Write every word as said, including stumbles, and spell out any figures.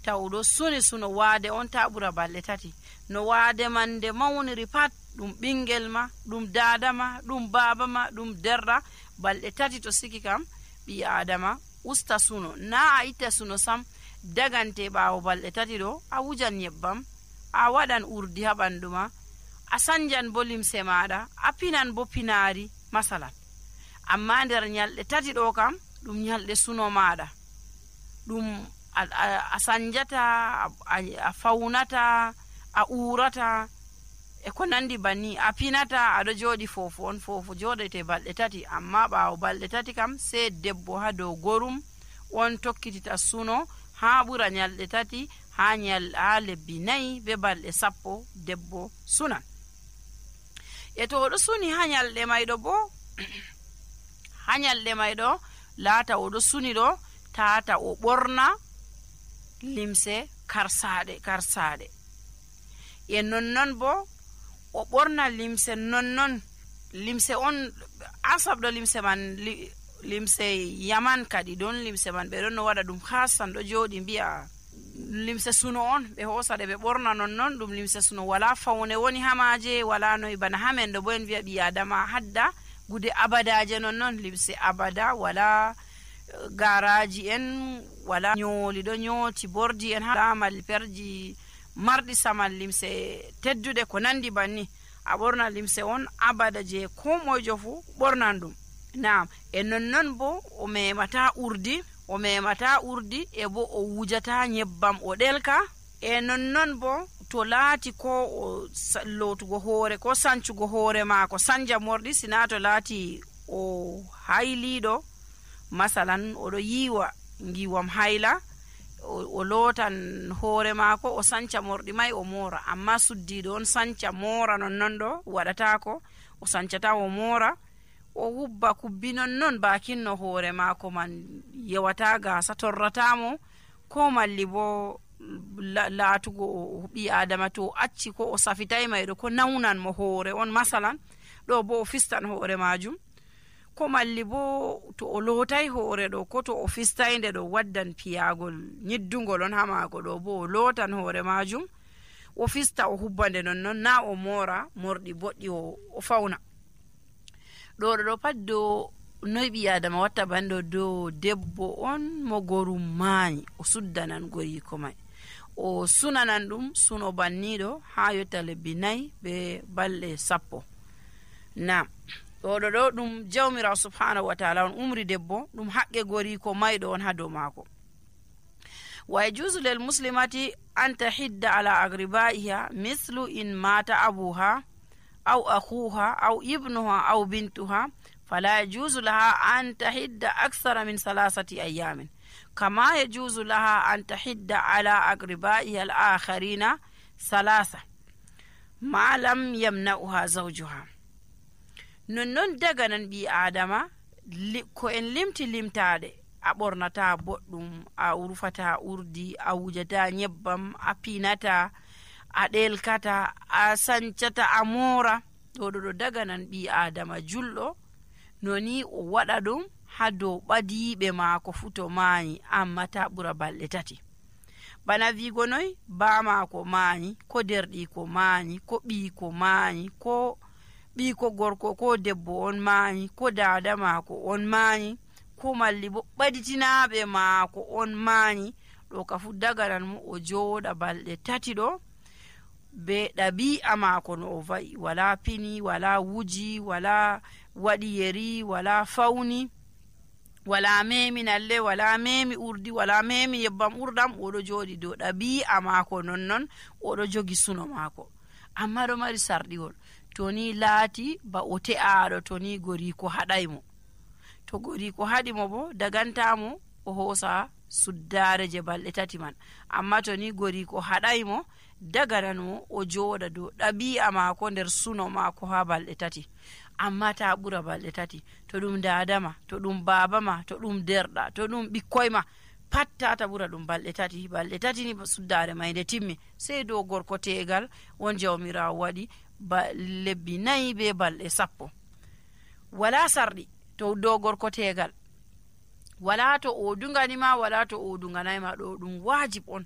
taw ɗo suni suno waade on ta ɓura balɗe tati. No waade man nde mawniri pat ɗum ɓingel ma, ɗum dada ma, ɗum baba ma, ɗum derra, balɗe tati to siki kam ɓi adama usta suno. Na a itta suno sam, dagante ɓaawo balɗe tati ɗo a wujan nyebbam, a waɗan urdi ha ɓandu ma, a sanjan bo limse maɗa, a pinan bo pinari masalan. Amma nder nyalɗe tati ɗo kam ɗum nyalɗe suno maɗa, ɗum a, a, a sanjata, a, a faunata, a urata e ko nandi banni, a pinata, aɗo joɗi fofo on. Fofo joɗete balɗe tati, amma ɓaawo balɗe tati kam sai debbo ha dow gorum on tokkitita suno ha ɓura nyalɗe tati, ha nyal ha lebbi nayi be balɗe sappo debbo sunan. E to oɗo suni ha nyalɗe mayɗo bo ha nyalɗe mayɗo laata oɗo suni ɗo tata o ɓorna limse karsaɗe karsaɗe e nonnon bo o ɓorna limse nonnon limse on asabɗo limse man li, limse yaman kadi don limse man ɓe ɗon no waɗa ɗum hasan ɗo joɗi mbi'a limse suno on ɓe hosaɗe ɓe ɓorna nonnon ɗum limse suno, wala faune woni hamaje, wala noyi bana hamen ɗo bo en wi'a ɓi adama hadda gude abadaje nonnon, limse abada, wala garaji en, wala nyoli ɗo nyoti bordi en ha malperji marɗi saman, limse teddude ko nandi banni. A ɓorna limse on abada je ko moyjo fu ɓornan ɗum. Naam, e nonnon bo o memata urdi, o memata urdi e bo o wujata nyebbam o ɗelka. E nonnon bo to laati ko o lotugo hoore ko sancugo hoore maako sanja morɗi, sina to laati o hayliɗo masalan oɗo yiwa ngiwam hayla, o, o lotan hoore maako o sanca morɗi mai o mora. Amma suddiɗo on sanca mora nonnon ɗo waɗatako, o sancata o mora, o hubba kubbi nonnon bakinno hoore maako man yewata gasa torratamo, ko malli bo laatugo ɓi adama to acci ko o safitay mayɗo ko nawnan mo hoore on masalan, ɗo bo o fistan hoore majum, ko malli bo to o lootay hoore ɗo ko to o fistayde ɗo waddan piyagol nyiddugol on ha maako ɗo bo o lootan hoore majum o fista o hubbande nonnon, na o mora morɗi boɗɗi o, o fauna. ɗo ɗo pat do noy ɓi adama watta banɗo dow debbo on mo gorum maayi o suddanan goriko mai, o sunanan ɗum suno banniɗo ha yotta lebbi nayi be balɗe sappo. Na ɗo ɗo ɗo ɗum jawmirawo subhanahu wa ta'ala on umri debbo, ɗum haqqe goriko mayɗo on ha dow maako. Wa yajuzu lil muslimati an tahidda ala agribaiha mithlu in mata abuha aw akhuha aw ibnuha aw bintuha fala yajuzu laha an tahidda akthara min thalathati ayamin kama yajuzu laha an tahidda ala agribaiha al akharina thalatha ma lam yamna'uha zawjuha. Nonnon daga nan ɓi adama ko en limti limtade, a ɓornata boɗɗum, a urfata urdi, a wujata nyebbam, a pinata, a ɗelkata, a sancata, a mora, ɗo ɗo daga nan ɓi adama julɗo noni o waɗa ɗum ha dow ɓadiɓe maako fu to maayi, amma ta ɓura balɗe tati. Bana wigo noy ba maako maayi, ko derɗiko maayi, ko ɓiiko maayi, ko ɓiiko gorko ko debbo on maayi, ko dada maako on maayi, ko malli bo ɓaditinaɓe maako on maayi, ɗo ka fu daganan mo o jooɗa balɗe tati ɗo be ɗabi'a maako no o va'i, wala pini, wala wuji, wala waɗi yeri, wala fauni, wala memi nalle, wala memi urdi, wala memi yebbam urdam, oɗo jooɗi dow ɗabi'a maako nonnon oɗo jogi suno maako. Amma ɗo mari sarɗiwol, to ni laati ba o te'aɗo to ni goriko haɗaymo, to goriko haɗimo bo dagantamo o hoosa suddare je balɗe tati man. Amma to ni goriko haɗaymo dagananmo o jooɗa dow ɗabi'a maako nder suno maako ha balɗe tati, amma ta ɓura balɗe tati. To ɗum dadama, to ɗum babama, to ɗum derɗa, to ɗum ɓikkoy ma, pat tata ɓura ɗum balɗe tati. Balɗe tati ni suddare may nde timmi, sey dow gorko tegal won jawmirawo waɗi ba lebbi nayi be balɗe sappo, wala sarɗi to dow gorko tegal, wala to o dunganima, wala to o dunganayma. ɗo ɗum wajib on